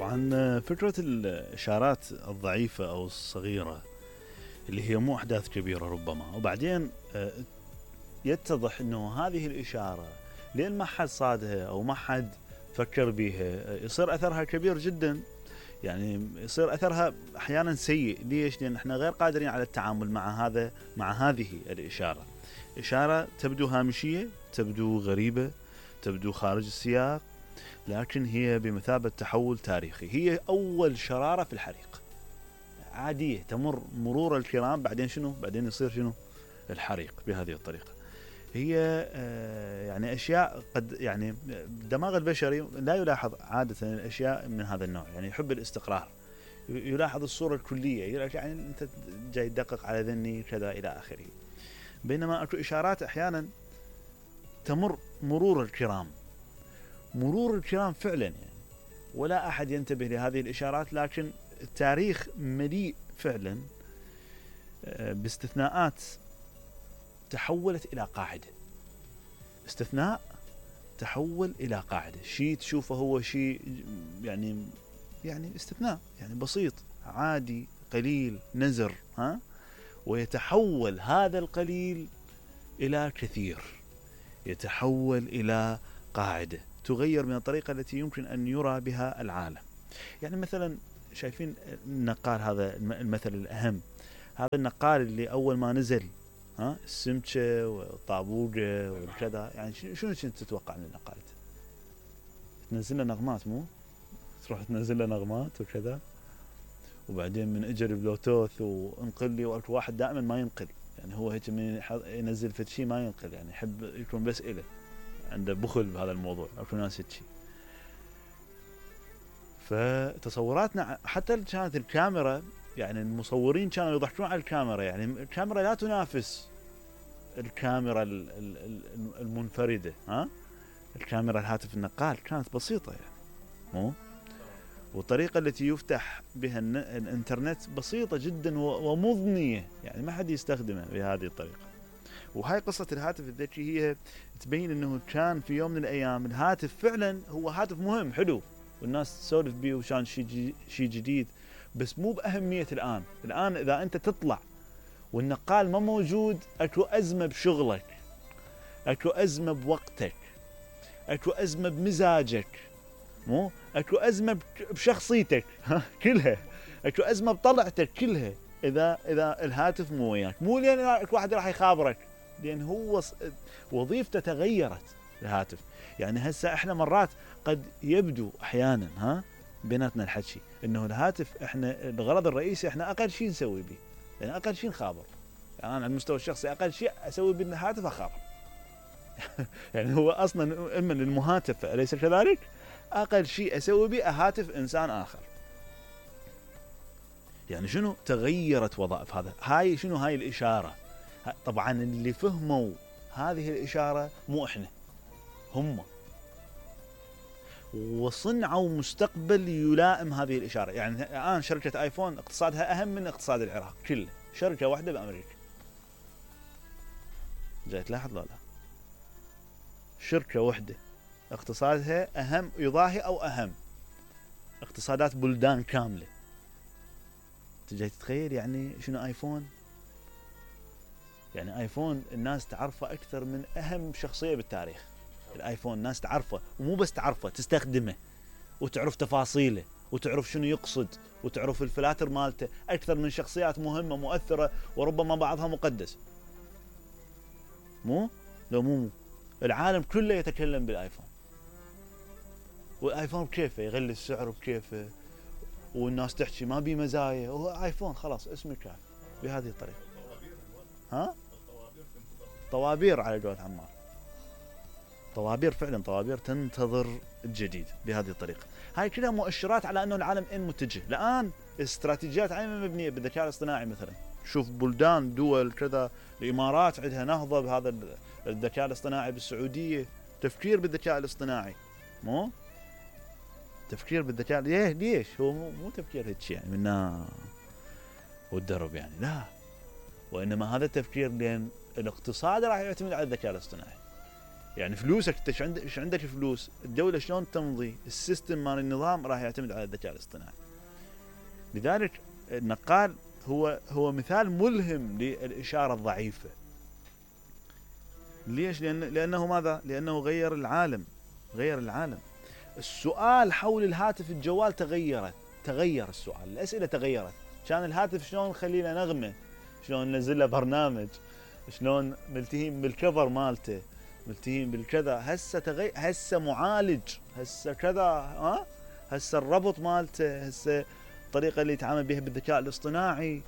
طبعا فكرة الإشارات الضعيفة أو الصغيرة اللي هي مو أحداث كبيرة ربما، وبعدين يتضح أنه هذه الإشارة لين ما حد صادها أو ما حد فكر بيها يصير أثرها كبير جدا. يعني يصير أثرها أحيانا سيء. ليش؟ لأن احنا غير قادرين على التعامل مع هذه الإشارة. إشارة تبدو هامشية، تبدو غريبة، تبدو خارج السياق، لكن هي بمثابة تحول تاريخي. هي أول شرارة في الحريق، عادية تمر مرور الكرام، بعدين شنو؟ بعدين يصير شنو؟ الحريق بهذه الطريقة. هي يعني أشياء قد يعني الدماغ البشري لا يلاحظ عادة الأشياء من هذا النوع، يعني يحب الاستقرار، يلاحظ الصورة الكلية، يعني أنت جاي تدقق على ذني كذا إلى آخره. بينما أكو إشارات أحيانا تمر مرور الكرام فعلا، يعني ولا أحد ينتبه لهذه الإشارات، لكن التاريخ مليء فعلا باستثناءات تحولت إلى قاعدة. استثناء تحول إلى قاعدة، شيء تشوفه هو شيء يعني استثناء، يعني بسيط عادي قليل نزر، ويتحول هذا القليل إلى كثير، يتحول إلى قاعدة تغير من الطريقة التي يمكن أن يرى بها العالم. يعني مثلا شايفين النقال، هذا المثل الأهم، هذا النقال اللي أول ما نزل السمكة والطابوقة والكذا، يعني شنو كنت تتوقع من النقالة؟ تنزل له نغمات، مو تروح تنزل له نغمات وكذا، وبعدين من اجى البلوتوث وانقل لي، واحد دائما ما ينقل، يعني هو هيك من ينزل فد شيء ما ينقل، يعني يحب يكون بس إله، عنده بخل بهذا الموضوع، اكو ناس هيك. فتصوراتنا حتى كانت الكاميرا، يعني المصورين كانوا يضحكون على الكاميرا، يعني الكاميرا لا تنافس الكاميرا المنفردة، الكاميرا الهاتف النقال كانت بسيطة، يعني مو، والطريقة التي يفتح بها الانترنت بسيطة جدا ومضنية، يعني ما حد يستخدمها بهذه الطريقة. وهاي قصة الهاتف الذكي هي تبين انه كان في يوم من الايام الهاتف فعلا هو هاتف مهم حلو، والناس تسولف بيه وشان شيء جديد، بس مو بأهمية الآن إذا أنت تطلع والنقال ما موجود، أكو أزمة بشغلك، أكو أزمة بوقتك، أكو أزمة بمزاجك، مو أكو أزمة بشخصيتك كلها، أكو أزمة بطلعتك كلها، إذا الهاتف مو وياك. مو لأن أكو واحد راح يخابرك، لأن هو وظيفته تغيرت الهاتف. يعني هسه إحنا مرات قد يبدو أحيانا بيناتنا الحكي إنه الهاتف إحنا الغرض الرئيسي إحنا أقل شيء نسوي به، يعني أقل شيء نخابر. يعني أنا على المستوى الشخصي أقل شيء أسوي بالهاتف أخابر يعني هو أصلا إما المهاتف، أليس كذلك؟ أقل شيء أسوي به أهاتف إنسان آخر. يعني شنو تغيرت وظائف هذا؟ هاي شنو؟ هاي الإشارة. طبعا اللي فهموا هذه الإشارة مو إحنا، هم، وصنعوا مستقبل يلائم هذه الإشارة. يعني الآن شركة آيفون اقتصادها أهم من اقتصاد العراق كله، شركة واحدة بأمريكا. جاي تلاحظ لا؟ شركة واحدة اقتصادها أهم، يضاهي أو أهم اقتصادات بلدان كاملة. تجي تتخيل يعني شنو آيفون؟ يعني آيفون الناس تعرفه أكثر من أهم شخصية بالتاريخ. الآيفون الناس تعرفه، ومو بس تعرفه، تستخدمه وتعرف تفاصيله وتعرف شنو يقصد وتعرف الفلاتر مالته أكثر من شخصيات مهمة مؤثرة وربما بعضها مقدس. مو العالم كله يتكلم بالآيفون، والآيفون بكيفه يغلي السعر بكيفه، والناس تحكي ما بي مزايا، وهو آيفون خلاص اسمه كاف بهذه الطريقة. طوابير على قولة عمار، طوابير فعلا، طوابير تنتظر الجديد بهذه الطريقة. هاي كلها مؤشرات على أنه العالم إن متجه. الآن استراتيجيات عامة مبنية بالذكاء الاصطناعي. مثلا شوف بلدان دول كذا، الإمارات عندها نهضة بهذا الذكاء الاصطناعي، بالسعودية تفكير بالذكاء الاصطناعي، مو تفكير بالذكاء. ليش هو مو تفكير هيك يعني منا والدرب، يعني لا، وإنما هذا التفكير لأن الاقتصاد راح يعتمد على الذكاء الاصطناعي. يعني فلوسك انت ايش عندك فلوس، الدوله شلون تمضي، السيستم مال النظام راح يعتمد على الذكاء الاصطناعي. لذلك النقال هو مثال ملهم للاشاره الضعيفه. ليش؟ لانه ماذا؟ لانه غير العالم. السؤال حول الهاتف الجوال تغير السؤال، الاسئله تغيرت. كان الهاتف شلون نخلي له نغمه، شلون ننزل له برنامج، شلون ملتهين بالكفر مالته، ملتهين بالكذا. هسه معالج، هسه كذا، هسه الربط مالته، هسه الطريقه اللي يتعامل بها بالذكاء الاصطناعي،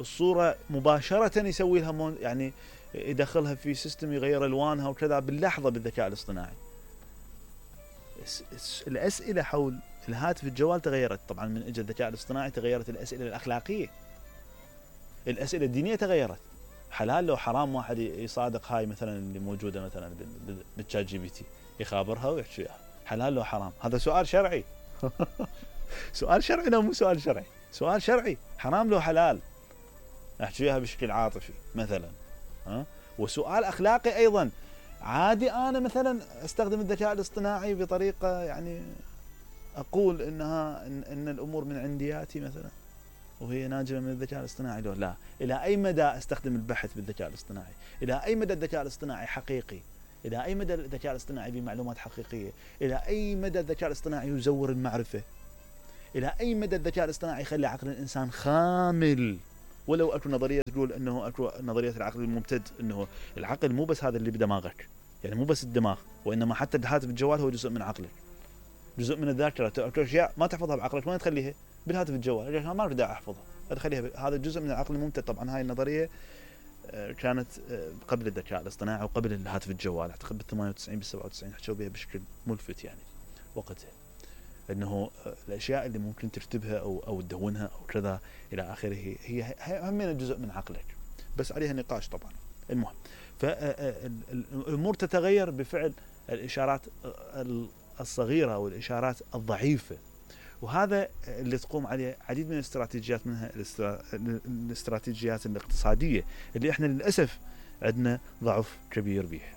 الصوره مباشره يسوي لها يعني يدخلها في سيستم يغير الوانها وكذا باللحظه بالذكاء الاصطناعي. الاسئله حول الهاتف الجوال تغيرت. طبعا من اجى الذكاء الاصطناعي تغيرت الاسئله الاخلاقيه، الاسئله الدينيه تغيرت. حلال لو حرام واحد يصادق هاي مثلا اللي موجوده مثلا بالشات جي بي تي، يخابرها ويحكي وياها حلال لو حرام. هذا سؤال شرعي. سؤال شرعي لو مو سؤال شرعي، سؤال شرعي. حرام لو حلال، احكي وياها بشكل عاطفي مثلا. وسؤال اخلاقي ايضا. عادي انا مثلا استخدم الذكاء الاصطناعي بطريقه يعني اقول ان الامور من عندياتي مثلا وهي ناجمه من الذكاء الاصطناعي، لو لا. الى اي مدى استخدم البحث بالذكاء الاصطناعي؟ الى اي مدى الذكاء الاصطناعي حقيقي؟ الى اي مدى الذكاء الاصطناعي بمعلومات حقيقيه؟ الى اي مدى الذكاء الاصطناعي يزور المعرفه؟ الى اي مدى الذكاء الاصطناعي يخلي عقل الانسان خامل؟ ولو اكو نظريه تقول انه اكو نظريه العقل الممتد، انه العقل مو بس هذا اللي بدماغك، يعني مو بس الدماغ، وانما حتى الهاتف الجوال هو جزء من عقلك، جزء من الذاكره. اكو اشياء ما تحفظها بعقلك وين تخليها؟ بالهاتف الجوال. ما اريد احفظها، ادخليها. هذا جزء من العقل الممتد. طبعا هاي النظريه كانت قبل الذكاء الاصطناعي وقبل الهاتف الجوال، اعتقد بال 98 بال 97 حكوا بها بشكل ملفت يعني وقتها، انه الاشياء اللي ممكن تكتبها او تدونها او كذا الى اخره هي هم جزء من عقلك، بس عليها نقاش طبعا. المهم، فالامور تتغير بفعل الاشارات الصغيره والاشارات الضعيفه، وهذا اللي تقوم عليه عديد من الاستراتيجيات، منها الاستراتيجيات الاقتصاديه اللي احنا للاسف عندنا ضعف كبير بيها.